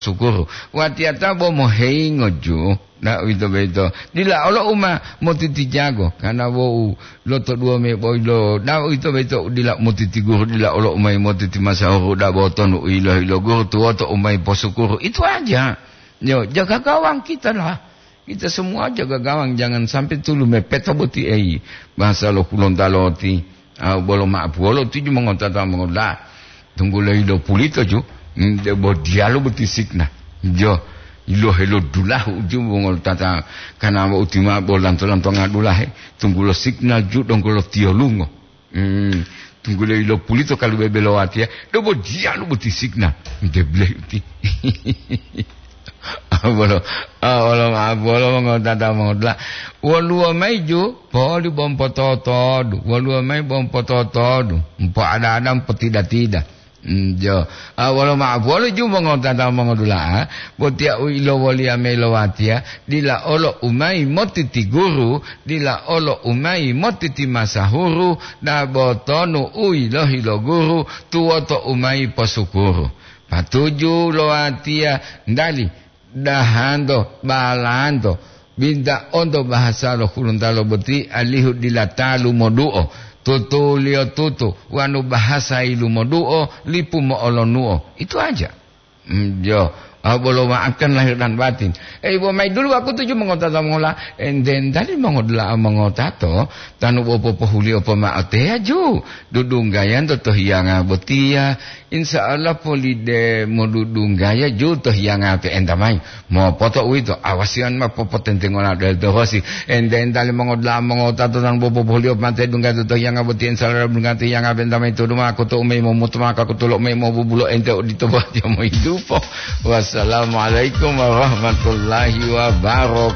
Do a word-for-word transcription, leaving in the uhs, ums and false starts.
sukuru. Watiyata bo moheyingo ju, na uwito boyito. Dila olo u ma motitijago, kana wou lotoduwo me boyilo, na uwito boyito dila motitiguru, dila olo u mayi motitimasahuru, dabo tonu u yilohi lo guru tuwoto u mayi posukuru. Itu aja. Yo, jaga gawang kita lah. Kita semua jaga gawang, jangan sampai tulu mepeta boti ei. Bahasa lo Hulontalo ti, ah, bolo ma'apuwolo tuju mongotata mongola. Tunggulo ilo pulito ju, mm, debo diyalu boti signa. Jo, ilo helo dulahu ju mongotata, kana wo utima bo lanto-lantonga dulahe. Tunggulo signa ju donggo lo tiyolungo. Hmm, tunggulo ilo pulito kalu bebe lo watiya, dobo diyalu boti signa. Debleh uti. Bolo, ah, bolo, ah, bolo mongotata mongotla. Woluwo mayi ju, poli bompototodu. Woluwo mayi bompototodu. Mpo ada-ada, mpo tida-tida. Hmm, jo. Ah, wolo ma'apuwolo ju mongotata mongodula'a, botiya u ilowoliya mayi lo watiya, dila olo u mayi motitiguru, dila olo u mayi motitimasahuru, dabo tonu u yilohi lo guru, tuwoto u mayi posukuru. Patuju lo watiya, ndali, dahanto, balanto, binta onto bahasa lo Hulontalo boti, alihu dila talu moduo, tutuliyo tutu, wanu bahasa yilumoduo, lipu mo'olonuo. Itu aja. Mm, jo. Ah, bolo maafkan lahir dan batin. Eh, ibo mayi dulu wakutu ju mongotata mongola. Enten tali mongodula'a mongotato, tanu bo popohuliyo poma'o teya ju. Dudunggayanto to hiyanga botiya. Insya Allah polide modudunggaya ju to hiyanga pe'enta mayi. Mopoto uwito, awasiyan ma popotentengola del dohosi. Ente-entali mongodula'a mongotato tanu bo popohuliyo mate dunggato to hiyanga boti, insya Allah dunggato hiyanga pe'enta mayi to duma kuto umeyi momuto maka kutulo umeyi mobubulo ente odito botiya mohidupo. Wassalamualaikum warahmatullahi wabarakatuh.